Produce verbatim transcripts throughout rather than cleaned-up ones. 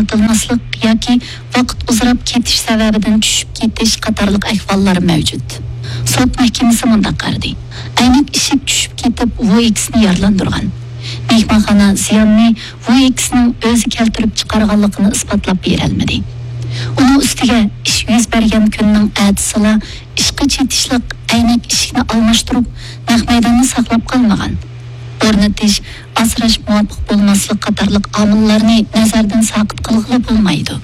ئاڭلىتىلماسلىق ياكى ۋاقىت ئۇزىراپ كېتىش سەۋەبىدىن چۈشۈپ كېتىش قاتارلىق ئەھۋاللار مەۋجۇت. سوت مەھكىمىسى مۇنداق قارىدى: ئەينەك ئىشىك چۈشۈپ كېتىپ، ۋۇ ئېكسنى يارىلاندۇرغان. مېھمانخانا زىياننى ۋۇ ئېكسنىڭ ئۆزى كەلتۈرۈپ چىقارغانلىقىنى ئىسپاتلاپ بېرەلمىدى. ئۇنىڭ ئۈستىگە ئىش يۈز بەرگەن كۈننىڭ ئەتىسىلا ئىشقا چېتىشلىق ئەينەك ئىشىكنى ئالماشتۇرۇپ، نەق مەيداننى ساقلاپ قالمىغان. ئورنىتىش، ئاسراش مۇۋاپىق بولماسلىق قاتارلىق ئامىللارنى نەزەردىن ساقىت قىلغىلى بولمايدۇ.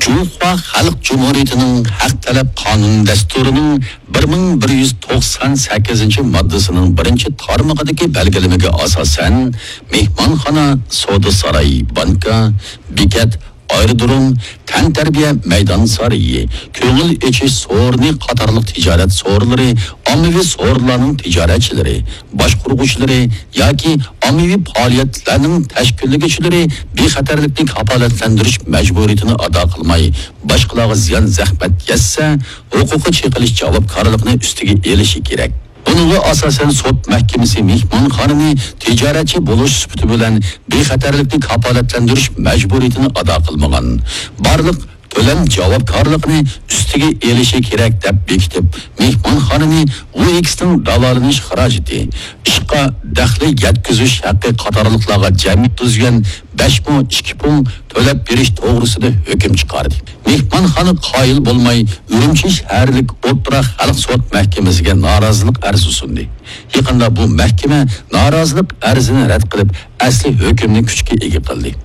جۇڭخۇا خەلق جۇمھۇرىيىتىنىڭ ھەق تەلەپ قانۇن دەستۇرىنىڭ بىر مىڭ بىر يۈز توقسان سەككىزىنچى ماددىسىنىڭ بىرىنچى تارمىقىدىكى بەلگىلىمىگە ئاساسەن، مېھمانخانا، سودا ساراي، بانكا، بېكەت، ئايرودروم، تەنتەربىيە مەيدان سارىيى، كۆڭۈل ئېچىش سورۇنى قاتارلىق تىجارەت سورۇنلىرى، ئاممىۋى سورۇنلارنىڭ تىجارەتچىلىرى، باشقۇرغۇچىلىرى ياكى ئاممىۋى پائالىيەتلەرنىڭ تەشكىللىگۈچىلىرى بىخەتەرلىكنى كاپالەتلەندۈرۈش مەجبۇرىيىتىنى ئادا قىلماي، باشقىلارغا زىيان زەخمەت يەتسە، ھوقۇققا چېقىلىش جاۋابكارلىقىنى ئۈستىگە ئېلىشى كېرەك. بۇنىڭغا ئاساسەن، سوت مەھكىمىسى مېھمانخانىنى تىجارەتچى بولۇش سۈپىتى بىلەن بىخەتەرلىكنى كاپالەتلەندۈرۈش مەجبۇرىيىتىنى ئادا قىلمىغان، بارلىق تۆلەم جاۋابكارلىقىنى ئۈستىگە ئېلىشى كېرەك دەپ بېكىتىپ، مېھمانخانىنى ۋۇ ئېكسنىڭ داۋالىنىش خىراجىتى، ئىشقا دەخلى يەتكۈزۈش ھەققى قاتارلىقلارغا جەمئىي يەتكۈزگەن بەش مو ئىككى پۇڭ تۆلەپ بېرىش توغرىسىدا ھۆكۈم چىقاردى. مېھمانخانا قايىل بولماي، ئۈرۈمچى شەھەرلىك ئوتتۇرا خەلق سوت مەھكىمىسىگە نارازىلىق ئەرزى سۇندى. يېقىندا بۇ مەھكىمە نارازىلىق ئەرزىنى رەت قىلىپ، ئەسلى ھۆكۈمنى كۈچكە ئىگە قىلدى.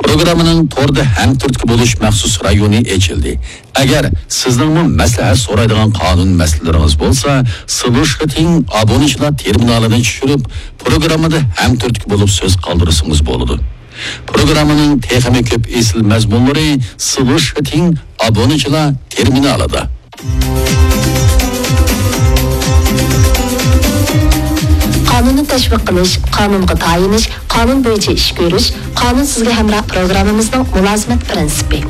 پروگراممىنىڭ توردا ھەمتۈرتكە بولۇش مەخسۇس رايونى ئېچىلدى. ئەگەر سىزنىڭمۇ مەسلىھەت سورايدىغان قانۇن مەسىلىلىرىڭىز بولسا، سلۇشىتىڭ ئابۇنىچىلار تېرمىنالىنى چۈشۈرۈپ، پروگراممىدا ھەمتۈرتكە بولۇپ سۆز قالدۇرسىڭىز بولىدۇ. پروگراممىنىڭ تېخىمۇ كۆپ ئېسىل مەزمۇنلىرى سلۇشىتىڭ ئابۇنىچىلار تېرمىنالىدا. قانۇننى تەشۋىق قىلىش، قانۇنغا تايىنىش، قانۇن بويىچە ئىش كۆرۈش، قانۇن سىزگە ھەمراھ پروگراممىمىزنىڭ مۇلازىمەت پىرىنسىپى.